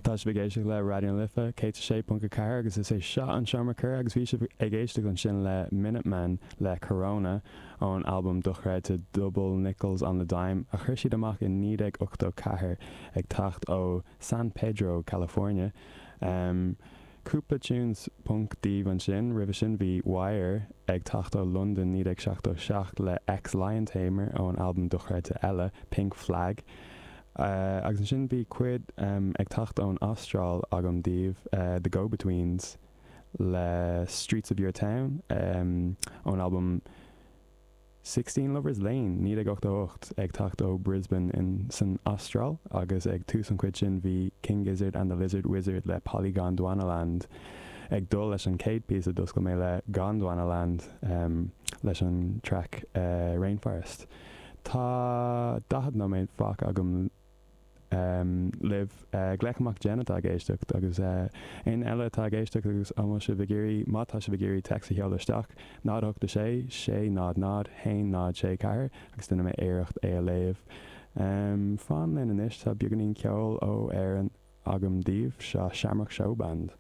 Tá sibh ag éisteacht le Raidió na Life 106.4 agus is é seo an Seomra Comhrá agus bhí sibh ag éisteacht ansin le Minutemen le Corona ón albam dochreidte Double Nickels on the Dime a chuir siad amach i 1984 ag teacht ó San Pedro, California. Cúpla tunes punk daoibh ansin. Roimhe sin bhí Wire ag teacht ó Londain 1977 le Ex Lion Tamer ón albam dochreidte eile Pink Flag. Agus ansin bhí cuid ag teacht ón Astráil agam daoibh, The Go-Betweens le Streets of Your Town ón albam Sixteen Lovers Lane, 1988, ag teacht ó Brisbane in san Astráil agus ag tús an chuid sin bhí King Gizzard and the Lizard Wizard le Polygondwanaland ag dul leis an chéad píosa d'oscail mé le Gondwanaland leis an traic Rainforest. Tá 40 nóiméad fágtha agam libh. Glaoch amach Jen atá ag éisteacht agus éinne eile atá ag éisteacht agus an bhfuil sibh ag iarraidh, má tá sibh ag iarraidh téacs a sheoladh isteach, 0 8 6 6 0 0 1 0 6 4 agus déanfaidh mé iarracht é a léamh. Fan linn anois, tá beagáinín ceoil ó Éirinn agam daoibh, seo Shamrock Showband.